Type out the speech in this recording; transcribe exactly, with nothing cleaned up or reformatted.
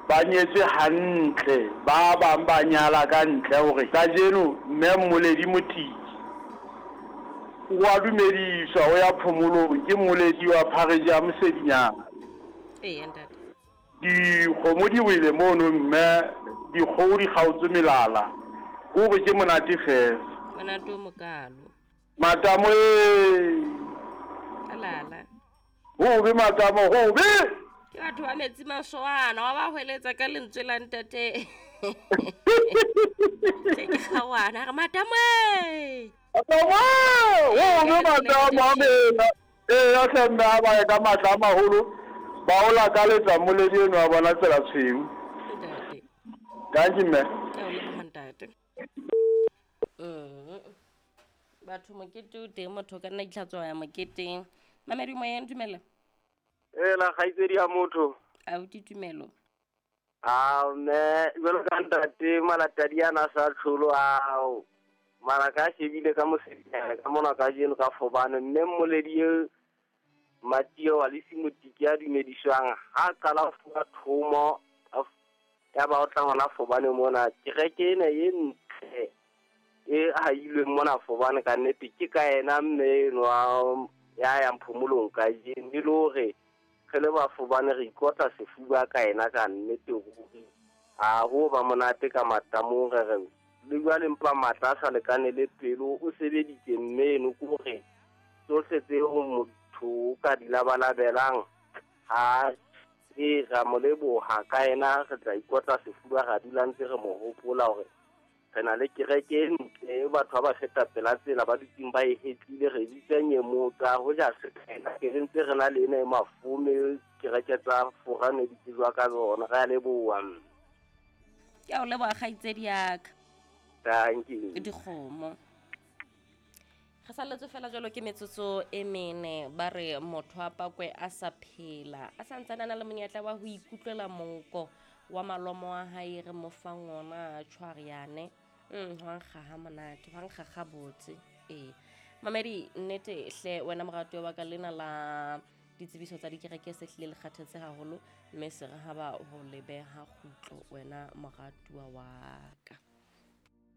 Ba nyetswe hantle, ba bang ba nyala ka ntle hore kajeno mme Mmoledi Motiki o a dumediswa o ya phomolong ke Mmoledi wa phareje ya Mosedinyana. Eya ntate. Dikgomo di wele mono mme dikgoho di kgaotswe melala. Ke hore ke monate fela. Monate o mokalo. Matamo ee. Alala. Hobe matamo hobe. Ke batho ba metsi masoana wa ba hweletsa ka lentswe la ntate. Ke kgawana re matamo ee. Matamo hobe matamo a mena. Ee ya hle mme a ba ye ka matla a maholo. Ba o lakaletsa Mmoledi eno wa bona tsela tshweu. Ntate. Dankie mme. Ke a o leboha ntate. Mm. Batho mokete o teng, motho o ka nna itlhatswa ya moketeng. Mamedi moyeng, dumela. Ela kgaitsedi ya motho. Abuti Tumelo. Ah mme jwalo ka ntate Malatadi ana a sa tlholo ao. Mara ka shebile ka mosedinyana ka mona kajeno ka Fobane mme Mmoledi e Matio wa Lisi Motiki a dumediswang ha qala ho fuwa thomo ya ba o tla hona Fobane mona kereke ena e ntle e hailweng mona Fobane ka nnete ke ka yena mme enwa ya yang phomolong kajeno e le hore re le ba Fobane re ikotla sefuba ka yena ka nnete ruri. Ha ho ba monate ka matamong re re le jwale mpa matla a sa lekane le pelo o sebeditse mme eno ke hore tsohle tseo motho o ka di labalabelang ha e ra mo leboha ka yena re tla ikotla sefuba ra dula ntse re mo hopola hore re na le kereke e ntle batho ba ba feta pela tsela ba dutseng ba e hetlile re bitsa nyemotsa ho ja se ka ke re ntse re na le ena e mafome kereke tsa Forane di tsejwa ka tsona re a leboha. Ke a o leboha kgaitsedi ya ka. Thank you. Dikgomo. Re salletswe fela jwalo ke metsotso e mene ba re motho a pakwe a sa phela a santsane a na le monyetla wa ho ikutlwela monko wa malomo a hae re mo fang ona tshwaryane. Mm hwa nkga ha monate, hwa nkga ga botse. Ee. Mamedi nnete hle wena moratuwa wa ka lena la ditsebiso tsa dikereke se hlile le kgathetse haholo mme se re ha ba ho lebeha kgutlo wena moratuwa wa ka.